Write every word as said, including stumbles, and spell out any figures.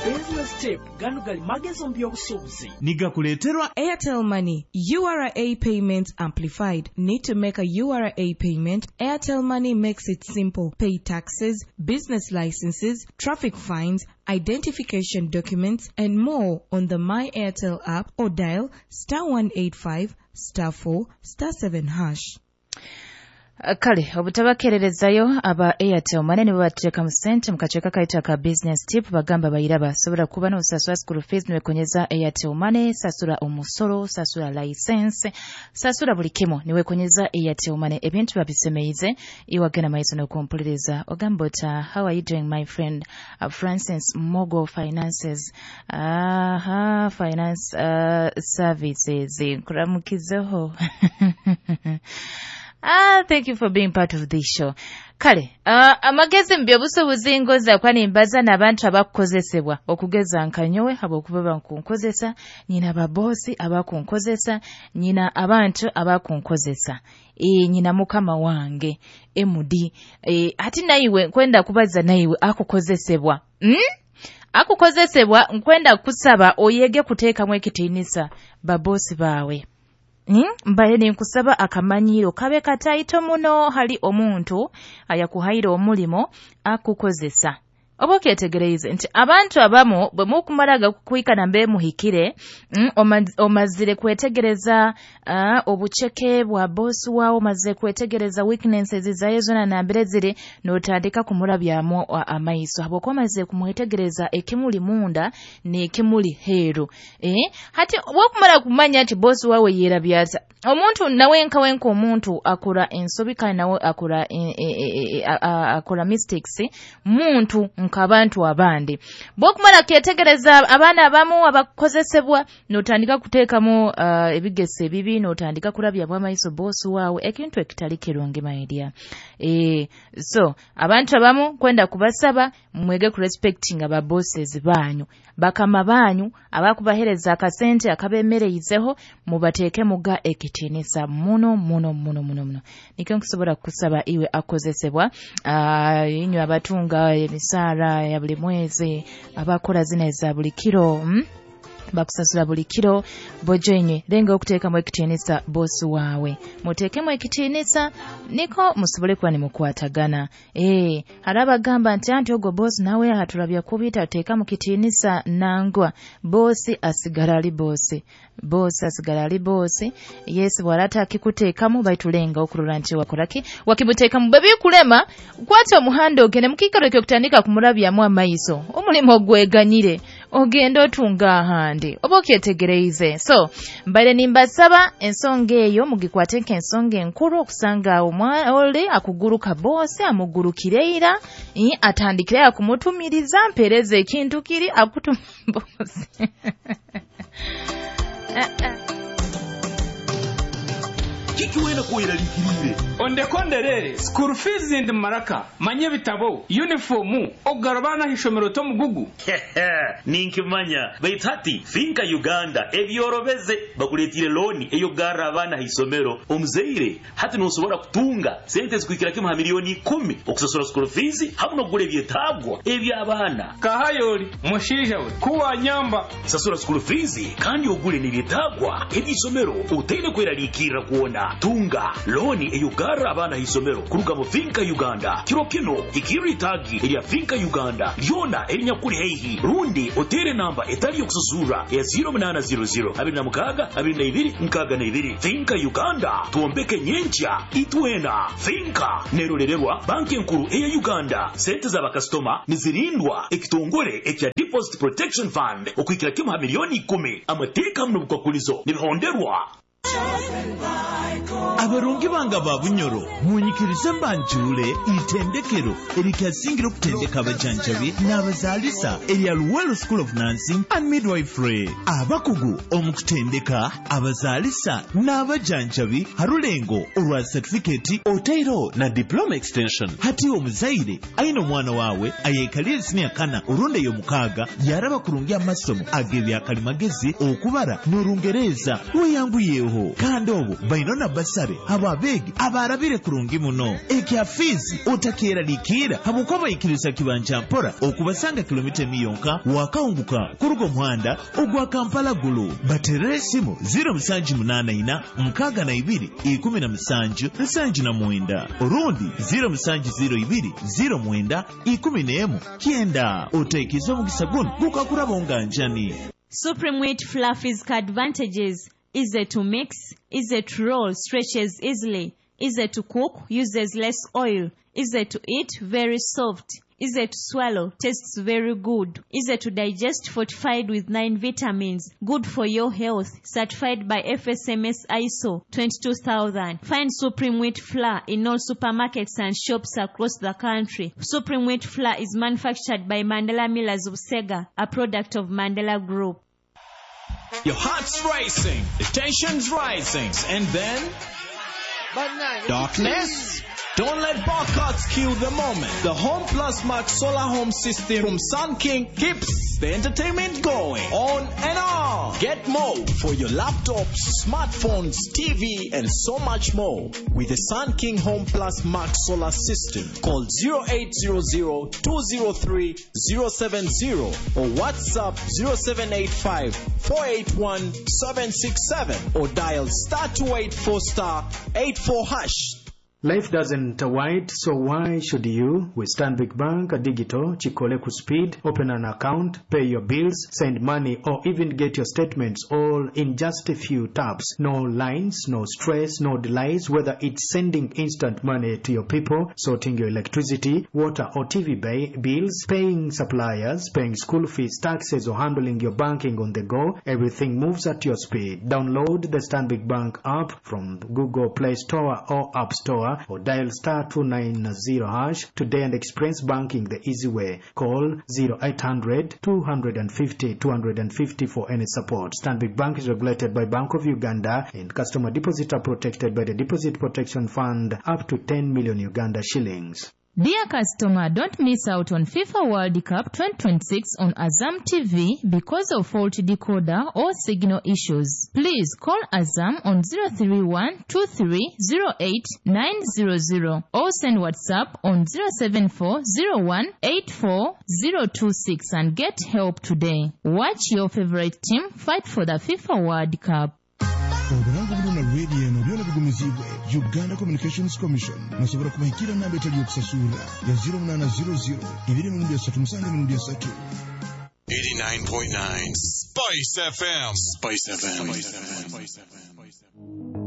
Business Tip gano gali magezi mu by'obusuubuzi. Nigakuleeterwa Airtel Money, U R A Payments Amplified. Need to make a U R A payment? Airtel Money makes it simple. Pay taxes, business licenses, traffic fines, identification documents, and more on the My Airtel app or dial star one eight five star four star seven hash. Kale obutabakeererezayo aba Airtel Money nibo bateeka mu ssente mu kaceeka kaitu aka Business Tip. Bagamba bayiraba sobola kuba n'osasula school fees niwekonyeza Airtel Money, sasula omusolo, sasula license, sasula buli kimu niwekonyeza Airtel Money. Ebintu babisemeize. Iwagenda maiso n'okumpuliriza, ogamba ota, "How are you doing, my friend?" uh, Francis Mogo Finances, aha, Finance uh, Services, nkuramukizeho. Ah, thank you for being part of this show. Kale, uh, amagezi mu by'obusuubuzi ngoza kuba nimbaza n'abantu abakukozesebwa okugeza nka nyowe, habwokuba bankunkozesa, nyina babosi abakunkozesa, nyina abantu abakunkozesa. E, nyina mukama wange M D. E, ati naiwe nkwenda kubaza naiwe akukozesebwa. Mm? Akukozesebwa, nkwenda kusaba oyege kuteekamu ekitiinisa babosi baawe. Hmm? Mbaye ninkusaba akamanyiro kabe kataito muno hali omuntu ayakuhaire omulimo akukozesa. Oba okyetegereize nti abantu abamu bwe mukumaraga kukwikana mbe muhikire, mm, oma- omazire kwetegereza uh, obuceke bwa bosi wawe, omazire kwetegereza weaknesses zayo zona nambere ziri, n'otandika kumurabyamu a- amaiso habwokuba omazire kumwetegereza ekimuli munda n'ekimuli heeru. eh? Hati bwokumara kumanya nti bosi wawe yeerabyata, omuntu nawe nka wenka omuntu akora ensobi, kandi nawe akora e, e, e, e, a- a- akora mistakes, muntu nk'abantu abandi. Bwokumara ketegereza abaana abamu abakozesebwa, n'otandika kuteekamu uh, ebigesa ebibi, n'otandika kurabyamu amaiso bosi waawe, ekintu ekitali kirungi, my dear. e, so abantu abamu kwenda kubasaba mwege kurespectinga ba bosses banyu, bakama banyu abakubahereza akasente akabemereizeho, mubateeke muga ekitiinisa muno muno muno muno muno. Nikyo nkusobola kukusaba iwe akozesebwa, uh, inywe abatunga emisaara ya buli mwezi, abakora zina eza buli kiro, mm? Bakusasula buli kiro, bojo inywe lenga okuteekamu ekitiinisa bosi waawe, muteekemu ekitiinisa niko musobole kuba nimukwatagana. ee hari abagamba nti anti ogwo bosi nawe atulabya kubi, tateeka mu kitiinisa. Nangwa, bosi asigala ali bosi, bosi asigala ali bosi. Yesi bw'arata akikuteekamu, baitu lenga okurora nti wakoraki wakimuteekamu. Bwe bikulema, kwata omuhanda ogende mukiikaro ekyokutandika kumurabyamu amaiso, omulimu ogweganyire, ogende otunga ahandi. Oba okyetegereize? So mbaire nimbasaba ensonga eyo mugikwate nk'ensonga enkuru okusanga omwa- oli akuguruka bosi amugurukire ira, eh, atandikire akumutumiriza, mpereza ekintu kiri akutuma bosi. Ah, ah. Kiki wena kweraliikirire? Ondekonderere school fees ndi maraka manye ebitabo, uniform, okugara abaana ah'ishomero tomugugu. Ninkimanya, baitu hati Finka Uganda ebyorobeze, bakuleetire looni ey'okugarra abaana ha isomero. Omuzaire hati nosobora kutunga sente zikuhikira kimu ha miliyoni ikumi okusasura school fees hamu n'okugura ebyetaagwa eby'abaana. Kahayoli mushaija we kuwanyamba. Sasura school fees kandi ogule n'ebyetaagwa eby'isomero otaine kweraliikirra kwona. Tunga looni ey'okugarra abaana ha isomero kuruga mu Finka Uganda. Kiro kino hikirra itaagi erya Finka Uganda lyona erinyakuli haihi, rundi otere namba etali yokususura ya zero munaana zero zero abiri na mukaaga abiri na ibiri nkaaga na ibiri. Finka Uganda, twombeke nyenkya itwena. Finka nerolererwa Banki Enkuru eya Uganda. Sente z'abakasitoma nizirindwa ekitongole ekya Deposit Protection Fund okuhikira kimu ha miliyoni ikumi. Amateeka hamu n'obukwakulizo nibihonderwa. Abarungi banga ba Bunyoro, munyikirize mbanjule itendekero erikyasingira okutendeka abajanjabi n'abazaalisa erya Luwero School of Nursing and Midwifery, abakugu omu kutendeka abazaalisa n'abajanjabi harulengo olwa certificate oteiro na diploma extension. Hati omuzaire aine omwana wawe ayekalire siniya kana orundi ey'omukaaga, yaraba kurungi amasomo ag'ebyakalimagezi, okubara n'orungereza, weyanguyeho. Haroho kandi obu baino na basare abo abeegi abarabire kurungi muno. Ekya fiizi otakeraliikira habwokuba baikiriza kibanja mpora okubasanga kilomita emiyonka wakahunguka kuruga omuhanda ogwa Kampala Gulu. Baterere esimu ziro musanju munaana ina nkaaga na ibiri ikumi na musanju nsanju na mwenda orundi ziro musanju ziro ibiri ziro mwenda ikumi n'emu kyenda. Otaikiza omugisa guno gukakuraba onganjani. Supreme Wheat Fluffy's advantages: easy to mix, easy to roll, stretches easily, easy to cook, uses less oil, easy to eat, very soft, easy to swallow, tastes very good, easy to digest, fortified with nine vitamins, good for your health, certified by F S M S I S O twenty-two thousand. Find Supreme Wheat Flour in all supermarkets and shops across the country. Supreme Wheat Flour is manufactured by Mandela Millers Busega, a product of Mandela Group. Your heart's racing, the tension's rising, and then darkness? Don't let barcodes kill the moment. The Home Plus Max Solar Home System from Sun King keeps the entertainment going on and on. Get more for your laptops, smartphones, T V, and so much more with the Sun King Home Plus Max Solar System. Call zero eight zero zero, two zero three, zero seven zero or WhatsApp zero seven eight five, four eight one, seven six seven or dial star two eight four star eight four hash. Life doesn't wait, so why should you? With Stanbic Bank Digital, Chikole ku speed, open an account, pay your bills, send money, or even get your statements all in just a few taps. No lines, no stress, no delays, whether it's sending instant money to your people, sorting your electricity, water or T V bills, paying suppliers, paying school fees, taxes, or handling your banking on the go, everything moves at your speed. Download the Stanbic Bank app from Google Play Store or App Store, or dial star two nine zero hash today and experience banking the easy way. Call zero eight hundred, two hundred fifty, two hundred fifty for any support. Stanbic Bank is regulated by Bank of Uganda and customer deposits are protected by the Deposit Protection Fund up to ten million Uganda shillings. Dear customer, don't miss out on FIFA World Cup twenty twenty-six on Azam T V because of faulty decoder or signal issues. Please call Azam on zero three one, two three zero eight, nine zero zero or send WhatsApp on zero seven four, zero one eight four, zero two six and get help today. Watch your favorite team fight for the FIFA World Cup. Obulango buno na radio eno byona bigumizibwe Uganda Communications Commission nasobola kubahikira namba etali yokusasula ya zero munana zero zero ibiri mirundi esatu musanju mirundi esatu. eighty-nine point nine Spice F M. Spice F M. Spice F M.